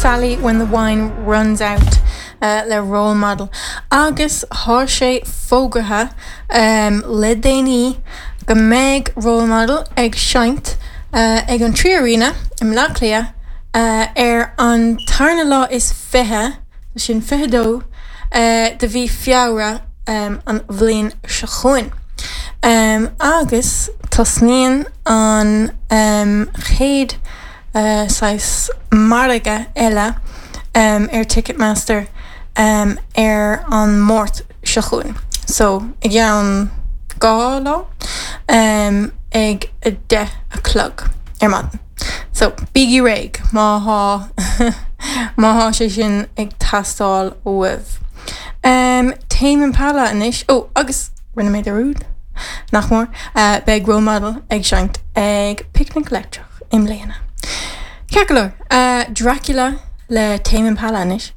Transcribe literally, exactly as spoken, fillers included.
Sally when the wine runs out uh, le role model. Agus tá sé fógartha um, le déanaí go mbeidh role model ag seinnt uh, ag an Three Arena i mBleá Cliath uh, ar an tarna lá is fiche sin fiche dó uh, de mhí Feabhra um, an bhliain seo chugainn. Um, agus tosnaíonn an um, chéad uh, saghas margadh eile um, ar Ticketmaster um, ar an Máirt seo chugainn. So i gceann dhá lá um, ag a deich a chlog ar maidin. So bígí réidh má tá má tá sé sin ag teastáil uaibh. Um, Tame Impala anois ó agus rinne mé dearúd nach mór uh, beidh role model ag seinnt ag Picnic Leictreach i mbliana. Ceart go leor uh, Dracula le Tame Impala anois.